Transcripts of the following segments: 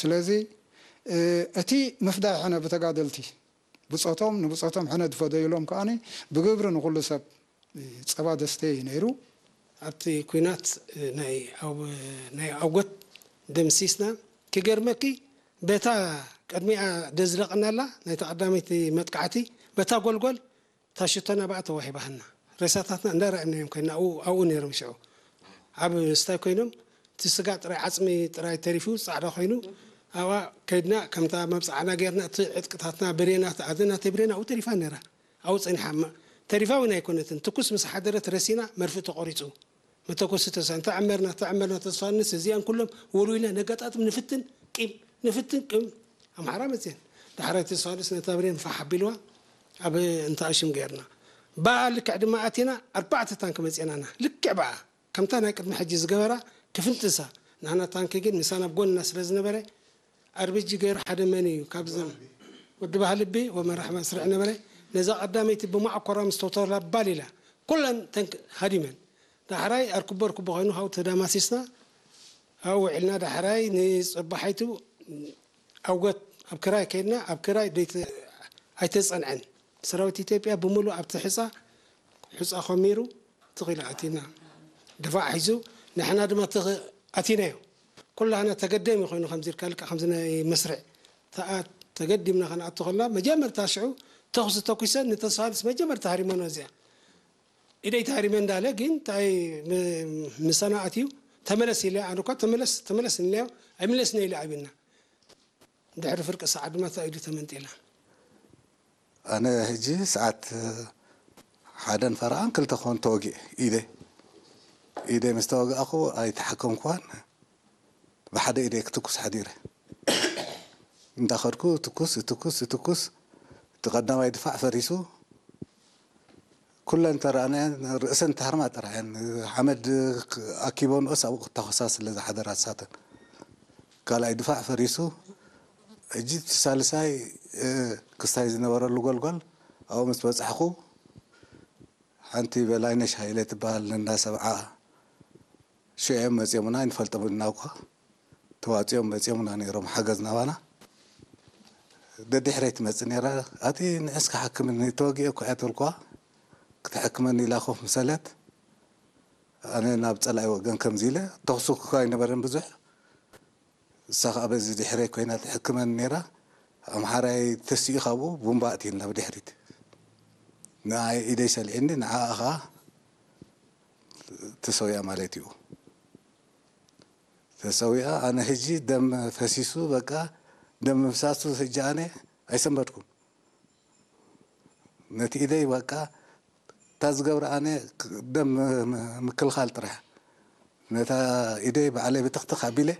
ስለዚ እቲ ምፍዳይ ሕነ ብተጋደልቲ ብፆቶም ንብፆቶም ሕነ ዝፈደዩሎም ከዓኒ ብግብሪ ንኩሉ ሰብ ጸባ ዘስተየ እዩ ነይሩ። ኣብቲ ኲናት ናይ ኣውጎት ደምሲስና። ክገርመኪ በታ ቅድሚኣ ደዝለቐናላ ናይታ ቀዳመይቲ መጥቃዕቲ በታ ጎልጎል እታ ሽቶና ብኣ ተዋሂባትና። ሬሳታትና እንዳረኣናዮም ኮይና ኣብኡ ኣብኡ ነይሮም ሽዑ ኣብ ስታይ ኮይኖም እቲ ስጋ ጥራይ ዓፅሚ ጥራይ ተሪፉ ፃዕዳ ኮይኑ ኣብኣ ከይድና ከምታ መብፃዕና ገይርና እቲ ዕጥቅታትና ብሬናት ኣደ ናተይ ብሬን ኣብኡ ተሪፋ ነይራ። ኣብኡ ፀኒሓ እማ ተሪፋ እውን ኣይኮነትን ትኩስ ምስ ሓደረት ረሲና መርፍእ ተቆሪፁ መተኮሲ ተሳ እንተዐመርና ተዐመርና ተስፋንስ እዚኣን ኩሎም ወልዊልና ነጋጣጥም ንፍትን ቂም ንፍትን ቅም ኣምሓራ መፅየን ዳሕራይ ተስፋንስ ነታ ብሬን ፋሕ ኣቢልዋ ኣብ እንተ ኣሽም ገይርና ብኣ ልክዕ ድማ ኣቲና ኣርባዕተ ታንክ መፅየናና ልክዕ ብኣ ከምታ ናይ ቅድሚ ሕጂ ዝገበራ ክፍንጥሳ ንሕና ታንክ ግን ምሳና ኣብ ጎንና ስለ ዝነበረ ኣርቢጂ ገይሩ ሓደ መን እዩ ካብዞም ወዲ ባህልቢ ወመራሕ መስርዕ ነበረ ነዛ ቀዳመይቲ ብማዕኮራ ምስ ተወተላ ባል ኢላ ኩለን ተንክ ሃዲመን ዳሕራይ ኣርክቦ ኣርክቦ ኮይኑ ካብኡ ተዳማሲስና ኣብኡ ውዒልና ዳሕራይ ንፅባሓይቱ ኣውጎት ኣብ ክራይ ከይድና ኣብ ክራይ ኣይተፀንዐን ሰራዊት ኢትዮጵያ ብምሉእ ኣብቲ ሕፃ ሕፃ ኮሚሩ ትኺሉ ኣቲና ድፋዕ ሒዙ ንሕና ድማ ትኽ ኣቲናዮ ኩላህና ተገደም ኮይኑ ከምዚ ኢልካ ልካ ከምዚ ናይ መስርዕ ተኣ ተገዲምና ከነኣቱ ከለና መጀመርታ ሽዑ ተኹሲ ተኩሰን ንተስፋንስ መጀመርታ ሃሪመኖ እዚኣ ኢደይ ተሃሪመ እንዳለ ግን ታይ ምሳና ኣትዩ ተመለስ ኢለ ኣነ እኳ ተመለስ ተመለስ ኢልናዮ ኣይምለስነ ኢለ ኣቢና ድሕሪ ፍርቂ ሰዓት ድማ እታ ኢዱ ተመንጢላ። ኣነ ሕጂ ሰዓት ሓደን ፈረቓን ክልተ ክኾን ተወጊኤ ኢደይ ኢደይ ምስ ተወጋእኹ ኣይተሓከምኩዋን ብሓደ ኢደይ ክትኩስ ሓዲረ እንዳኸድኩ ትኩስ ትኩስ ትኩስ እቲ ቀዳማይ ድፋዕ ፈሪሱ ኩለን ተረኣናየን ርእሰን ተሃርማ ጥራሕ እየን ሓመድ ኣኪበንኦስ ኣብኡ ክታኾሳ ስለ ዝሓደራ ንሳተን ካልኣይ ድፋዕ ፈሪሱ ሕጂ እቲ ሳልሳይ ክስታይ ዝነበረሉ ጎልጎል ኣብኡ ምስ በፃሕኹ ሓንቲ በላይነሽ ሃይለ ትበሃል ነንዳ ሰብዓ ሽዑ እዮም መፂኦምና ኣይንፈልጦምን ኢና እኳ ተዋፂኦም መፂኦምና ነይሮም ሓገዝ ናባና ደድሕረይ ትመፅእ ነይራ ኣቲ ንዕስ ክሓክምኒ ተወጊአ እኳ እያ ተልኳ ክትሕክመኒ ኢላ ኮፍ ምሰለት ኣነ ናብ ፀላኢ ወገን ከምዚ ኢለ ተኽሱ ክኳ ኣይነበረን ብዙሕ እሳ ከዓ በዚ ድሕረይ ኮይና ትሕክመኒ ነይራ ኣምሓራይ ተሲኡ ካብኡ ቡምባ ኣእትየኒ ናብ ድሕሪት ንዓይ ኢደይ ሰሊዕኒ ንዓኣ ከዓ ተሰዊኣ ማለት እዩ ተሰዊኣ ኣነ ህጂ ደም ፈሲሱ በቃ ደም ምፍሳሱ ህጂ ኣነ ኣይሰንበድኩን ነቲ ኢደይ በቃ እታ ዝገብራ ኣነ ደም ምክልኻል ጥራሕ ነታ ኢደይ ባዕለይ ብትኽትኽ ኣቢለ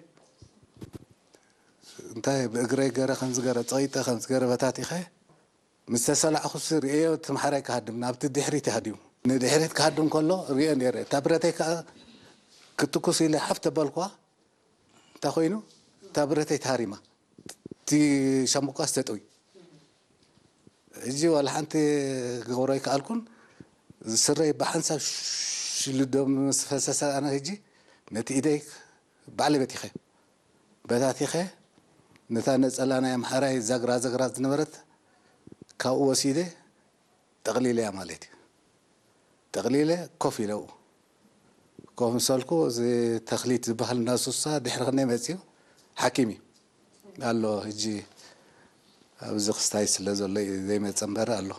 እንታይ ብእግረይ ገረ ከምዚ ገረ ፀቂጠ ከምዚ ገረ በታቲኸ ምስ ተሰላዕኹሲ ርእየዮ እቲ ማሕራይ ክሃድም ናብቲ ድሕሪት ይሃድሙ ንድሕሪት ክሃድም ከሎ ርእዮ ነይረ እታ ብረተይ ከዓ ክትኩስ ኢለ ሓፍ ተበልኳ እንታይ ኮይኑ እታ ብረተይ ተሃሪማ እቲ ሻምብቆስ ተጠውዩ ሕጂ ዋላ ሓንቲ ክገብሮ ኣይከኣልኩን ስረይ ብሓንሳብ ሽልዶ ምስ ፈሰሰ ኣነ ሕጂ ነቲ ኢደይ ባዕለይ በቲኸ በታቲኸ ነታ ነፀላ ናይ ኣምሓራይ ዛግራ ዛግራ ዝነበረት ካብኡ ወሲደ ጠቕሊለያ ማለት እዩ ጠቕሊለ ኮፍ ኢለ ኣብኡ ኮፍ ምስ በልኩ እዚ ተኽሊት ዝበሃል እንዳ ሱሳ ድሕሪ ክንደይ መፂኡ ሓኪም እዩ ኣሎ ሕጂ ኣብዚ ክስታይ ስለ ዘሎ እዩ ዘይመፀ እምበር ኣሎ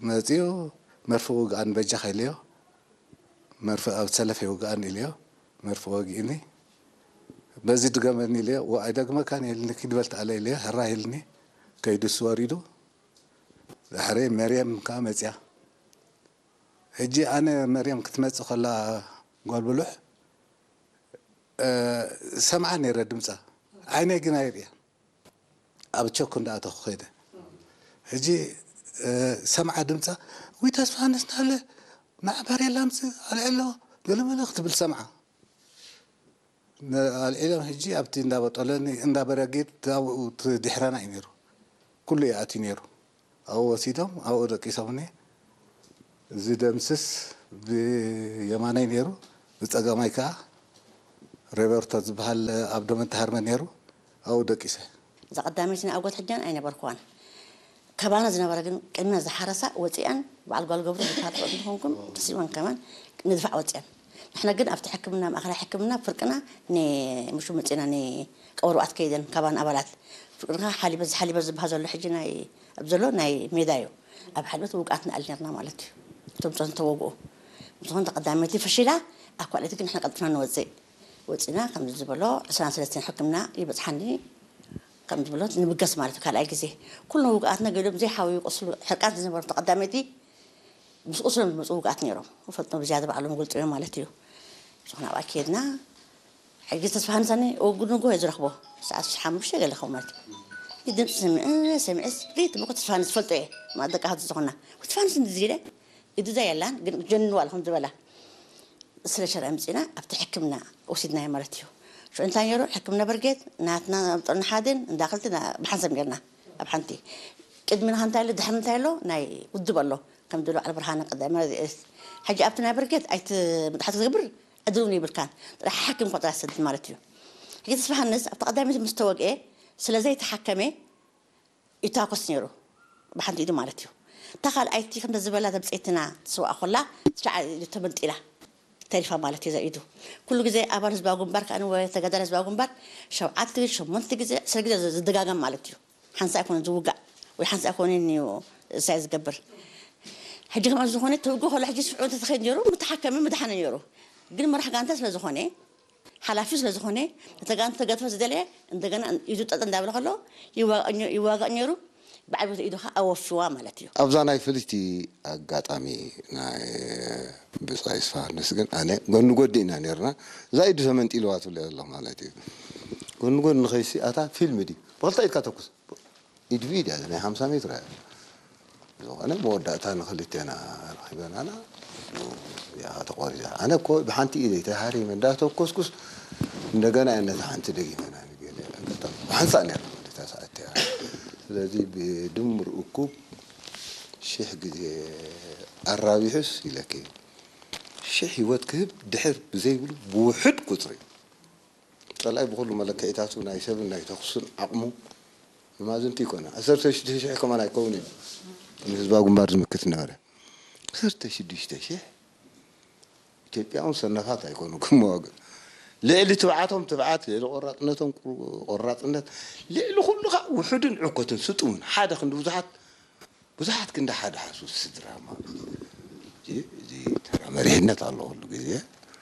መፂኡ መርፍእ ውግኣን በጃኻ ኢለዮ መርፍእ ኣብ ሰለፍ ይውግኣኒ ኢለዮ መርፍእ ወጊእኒ በዚ ድገመኒ ኢለዮ ኣይደግመካን ኢልኒ ኪድ በል ተኣለ ኢለዮ ሕራይ ኢልኒ ከይዱ እሱ ወሪዱ ድሕሪ መርየም ከዓ መፅያ ሕጂ ኣነ መርየም ክትመፅእ ከላ ጓል ብሉሕ ሰምዓ ነይረ ድምፃ ዓይነይ ግን ኣይርእያን ኣብ ቸኩ እንዳኣተኹ ከይደ ሕጂ ሰምዓ ድምፃ ወይ ተስፋ ኣነስ ናለ ንዓ ባሬላ ምፅ ኣልዕሎ ገለመለ ክትብል ሰምዓ ኣልዒሎም ሕጂ ኣብቲ እንዳበጠለኒ እንዳበረጊድ ኣብኡ ድሕረና እዩ ነይሩ ኩሉ ይኣትዩ ነይሩ ኣብኡ ወሲዶም ኣብኡ ደቂሶምኒ ዝደምስስ ብየማነይ ነይሩ ብፀጋማይ ከዓ ሬበርቶ ዝበሃል ኣብ ዶመንት ሃርመ ነይሩ። ኣብኡ ደቂሰ። እዛ ቀዳመይቲ ናይ ኣጎት ሕጃን ኣይነበርኩዋን። ከባና ዝነበረ ግን ቅድሚያ ዝሓረሳ ወፂኣን በዓል ጓል ገብሩ ዝበሃል ፍቕሪ ዝኾንኩም ተሲወን ከማን ንድፋዕ ወፂኣን። ንሕና ግን ኣብቲ ሕክምና ማእኸላይ ሕክምና ፍርቅና ንሙሹ መፂና ንቀበርባኣት ከይደን ካባን ኣባላት ፍርቅና ሓሊበ ዝሓሊበ ዝበሃል ዘሎ ሕጂ ናይ ኣብ ዘሎ ናይ ሜዳ እዩ። ኣብ ሓሊበት ውቃት ንኣል ነርና ማለት እዩ። እቶም ፆን ተወግኡ ዝኾን ተቐዳመይቲ ፈሽላ ኣኳልእቲ ግን ንሕና ቀልጥና ንወፅእ ወፂና ከም ዝበሎ ዕስራን ሰለስተን ሕክምና ይበፅሓኒ ከም ዝበሎ ንብገስ ማለት እዩ። ካልኣይ ግዜ ኩሉ ውግኣትና ገሎም ዘይሓውዩ ቁስሉ ሕርቃን ዝነበሩ ተቐዳመይቲ ምስ ቁስሎም ዝመፁ ውግኣት ነይሮም ፈጥኖ ብዝያደ ባዕሎም ገልጡ እዮም ማለት እዩ። ዝኾነ ኣብኣ ከየድና ሕጂ ተስፋ ሃንሳኒ ወጉድ ንጎ ዝረኽቦ ሰዓት ሓሙሽተ ገለ ከው ማለት እዩ። ድምፂ ሰሚዐ ሰሚዐስ ሪት ብኩ ተስፋ ሃንስ ዝፈልጦ እየ ማለት ደቂ ሃቱ ዝኾና ተስፋ ሃንስ እንድዚ ኢለ ኢዱ እዛ የላን ግን ጀንዋ ኣለኹም ዝበላ ስለ ሸረ ምፅና ኣብቲ ሕክምና ወሲድናዮ ማለት እዩ። ሽዑ እንታይ ነይሩ ሕክምና በርጌት ናትና ጥርኒ ሓደን እንዳ ክልተ ብሓንሳብ ጌርና ኣብ ሓንቲ ቅድሚ ንኻ እንታይ ኣሎ ድሕሪ እንታይ ኣሎ ናይ ውድብ ኣሎ ከም ድሎ ዓል ብርሃነ ቀዳማዊ ረድኤት ሕጂ ኣብቲ ናይ በርጌት ኣይት ምጥሓት ክትገብር ዕድል እውን ይብልካን ጥራሕ ሓኪም ቆጥራ ሰድድ ማለት እዩ። ሕጂ ተስፋ ሃንስ ኣብቲ ቀዳሚት ምስ ተወግኤ ስለ ዘይተሓከመ ይታኮስ ነይሩ ብሓንቲ ኢዱ ማለት እዩ። እታ ካልኣይቲ ከምተ ዝበላ ተብፀይትና ትስዋእ ኮላ ትሻዓ ኢዱ ተመንጢላ ተሪፋ ማለት እዩ። ኢዱ ኩሉ ግዜ ኣባል ህዝባዊ ግንባር ከኣ ወይ ተጋዳላይ ህዝባዊ ግንባር ሸውዓተ ግዜ ሸሞንተ ግዜ ዕስራ ግዜ ዝደጋገም ማለት እዩ። ሓንሳ ኣይኮነ ዝውጋእ ወይ ሓንሳ ኣይኮነ እዩ እሳይ ዝገብር። ሕጂ ከምኣ ዝኾነ ተውግእ ከሎ ሕጂ ስፍዑ እንተተኸይድ ነይሩ ምተሓከመ ምድሓነ ነይሩ። ግን መራሕ ጋንታ ስለ ዝኾነ ሓላፊ ስለ ዝኾነ ነተጋንተ ተገድፈ ዝደለየ እንደገና ኢዱ ጠጠ እንዳበለ ከሎ ይዋጋእ ነይሩ። ብዓብዮት ኢዱ ከዓ ኣወፊዋ ማለት እዩ። ኣብዛ ናይ ፍልይቲ ኣጋጣሚ ናይ ብፃይ ስፋርንስ ግን ኣነ ጎኒ ጎዲ ኢና ነርና። እዛ ኢዱ ተመንጢልዋ ትብለ ዘለኹ ማለት እዩ። ጎኒ ጎኒ ንኸይሲ ኣታ ፊልም ድዩ ብክልተ ኢድካ ተኩስ ኢድ ብኢድ እያ ናይ ሓምሳ ሜትር እያ። ዝኾነ መወዳእታ ንክልቴና ረኺበናና እዚኣ ተቆሪፃ። ኣነ እኮ ብሓንቲ ኢደይ ተሃሪመ እንዳተኮስኩስ እንደገና እያ ነታ ሓንቲ ደጊመና ንገለ ኣጋጣሚ ብሓንሳእ ነይራ ማለት እያ ሰዓት እያ። ስለዚ ብድምር እኩብ ሽሕ ግዜ ኣራቢሑስ ኢለኪ ሽሕ ህይወት ክህብ ድሕር ብዘይብሉ ብውሑድ ቁፅሪ ፀላኢ ብኹሉ መለክዒታቱ ናይ ሰብን ናይ ተኹስን ዓቕሙ ንማዝንቲ ይኮነ። ዓሰርተ ሽዱሽተ ሽሕ ከማን ኣይከውን እዩ ንህዝባዊ ግንባር ዝምክት ነበረ። ዓሰርተ ሽዱሽተ ሽሕ ኢትዮጵያውን ሰነፋት ኣይኮኑ ክመዋግእ ልዕሊ ትብዓቶም ትብዓት ልዕሊ ቆራፅነቶም ቆራፅነት ልዕሊ ኩሉ ከዓ ውሑድን ዕኮትን ስጡምን ሓደ ክንዲ ብዙሓት ብዙሓት ክንዲ ሓደ ሓሱ ስድራ ማለት እዩ። እዚ ተራ መሪሕነት ኣሎ ኩሉ ግዜ